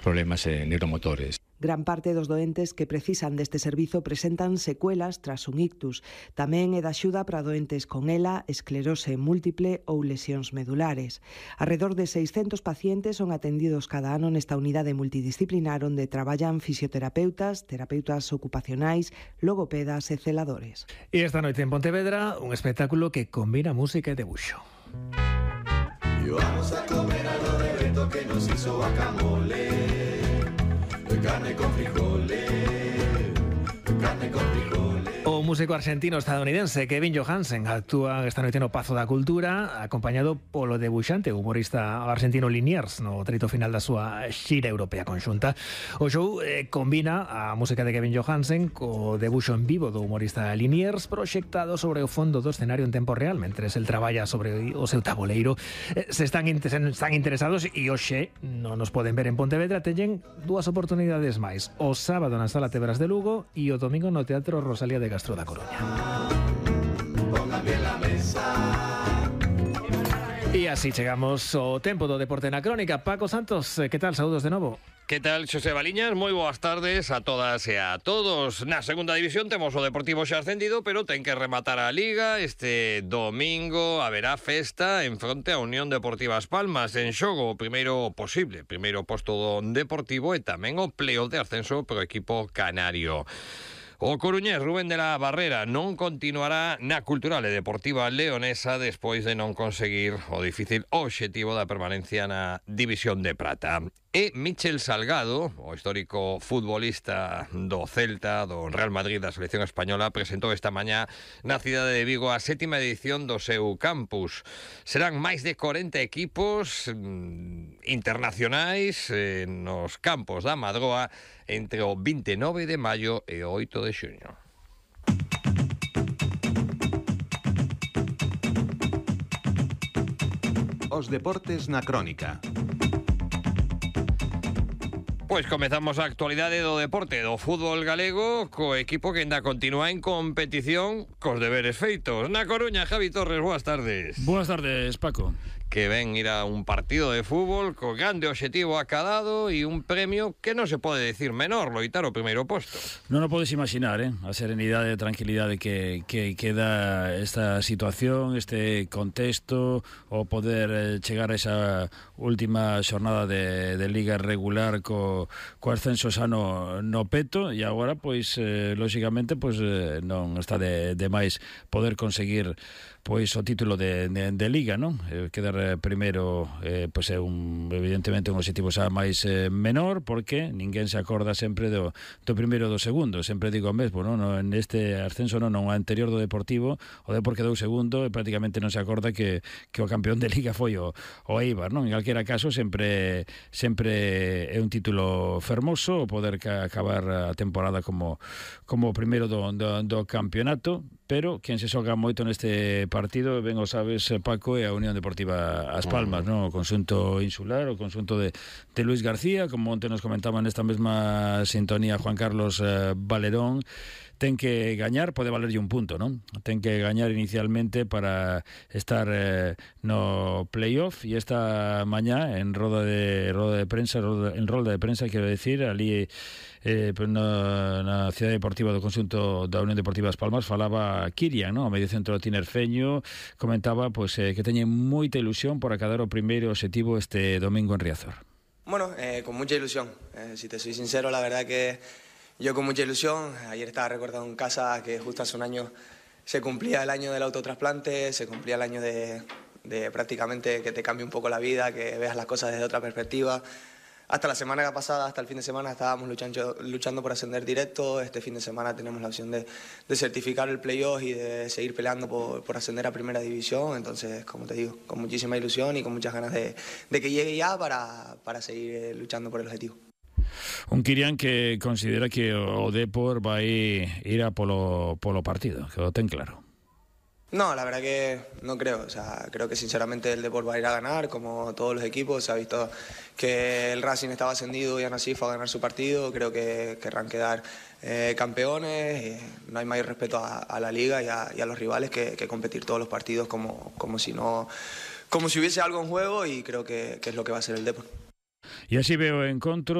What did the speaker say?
problemas neuromotores. Gran parte dos doentes que precisan deste servizo presentan secuelas tras un ictus. Tamén é de axuda para doentes con ELA, esclerose múltiple ou lesións medulares. Arredor de 600 pacientes son atendidos cada ano nesta unidade multidisciplinar onde traballan fisioterapeutas, terapeutas ocupacionais, logopedas e celadores. E esta noite en Pontevedra, un espectáculo que combina música e debuxo. Y vamos a comer algo de Beto que nos hizo guacamole. Carne con frijoles, carne con frijoles. O músico argentino-estadounidense Kevin Johansen actúa esta noite no Pazo da Cultura acompañado polo debuxante humorista argentino Liniers no treito final da súa xira europea conxunta. O show combina a música de Kevin Johansen co debuxo en vivo do humorista Liniers proxectado sobre o fondo do escenario en tempo real mentres el traballa sobre o seu tabuleiro. Se están interesados e hoxe non nos poden ver en Pontevedra, teñen dúas oportunidades máis. O sábado na Sala Tebras de Lugo e o domingo no Teatro Rosalía de Castro da Coruña. E así chegamos ao tempo do Deporte na Crónica. Paco Santos, que tal? Saúdos de novo. Que tal, Xosé Baliñas? Moi boas tardes a todas e a todos. Na segunda división temos o Deportivo xa ascendido, pero ten que rematar a Liga. Este domingo haberá festa en fronte a Unión Deportiva As Palmas. En xogo o primeiro posto do Deportivo e tamén o playoff de ascenso pro equipo canario. O coruñés Rubén de la Barrera non continuará na Cultural e Deportiva Leonesa despois de non conseguir o difícil obxectivo da permanencia na División de Prata. E Michel Salgado, o histórico futbolista do Celta, do Real Madrid, da selección española, presentou esta mañá na cidade de Vigo a 7ª edición do seu campus. Serán máis de 40 equipos internacionais nos campos da Madroa entre o 29 de maio e o 8 de xuño. Os deportes na Crónica. Pois comezamos a actualidade do deporte do fútbol galego co equipo que ainda continúa en competición cos deberes feitos. Na Coruña, Javi Torres, boas tardes. Boas tardes, Paco. Que ven ir a un partido de fútbol co grande obxectivo acadado e un premio que non se pode decir menor, loitar o primeiro posto. Non o podes imaginar, a serenidade e tranquilidade que dá esta situación, este contexto, o poder chegar a esa última xornada de Liga regular co ascenso xa no peto, e agora, pois, lóxicamente, pois, non está de máis poder conseguir pois o título de Liga, non? Quedar primeiro pois é evidentemente un objetivo xa máis menor, porque ninguén se acorda sempre do primeiro e do segundo. Sempre digo o mesmo, non? Neste ascenso non o anterior do Deportivo, o Depor quedou segundo e prácticamente non se acorda que o campeón de Liga foi o Eibar, non? En calquera caso sempre é un título fermoso o poder acabar a temporada como o primeiro do campeonato, pero quen se xoga moito neste partido, ben o sabes, Paco, é a Unión Deportiva As Palmas, non? O conxunto insular, o conxunto de Luis García, como onte nos comentaba nesta mesma sintonía Juan Carlos Valerón, ten que gañar, pode valerlle un punto, non? Ten que gañar inicialmente para estar no playoff, e esta mañá en rolda de prensa, quero decir, ali na cidade deportiva do conxunto da Unión Deportiva As Palmas falaba Kirian, non? O medio centro tinerfeño, comentaba pois que teñen moita ilusión por acadar o primeiro obxectivo este domingo en Riazor. Bueno, con mucha ilusión. Si te soy sincero, la verdad que yo con mucha ilusión. Ayer estaba recordando en casa que justo hace un año se cumplía el año del autotrasplante, se cumplía el año de prácticamente que te cambie un poco la vida, que veas las cosas desde otra perspectiva. Hasta la semana pasada, hasta el fin de semana, estábamos luchando por ascender directo. Este fin de semana tenemos la opción de certificar el playoff y de seguir peleando por ascender a Primera División. Entonces, como te digo, con muchísima ilusión y con muchas ganas de que llegue ya para seguir luchando por el objetivo. Un Kirian que considera que o Depor vai ir a polo partido, que o ten claro. No, la verdad que no creo. O sea, creo que sinceramente el Depor va a ir a ganar, como todos los equipos. Se ha visto que el Racing estaba ascendido y aún así fue a ganar su partido. Creo que querrán quedar campeones. No hay mayor respeto a la liga y a los rivales que competir todos los partidos como si hubiese algo en juego, y creo que es lo que va a ser el Depor. E así veo o encontro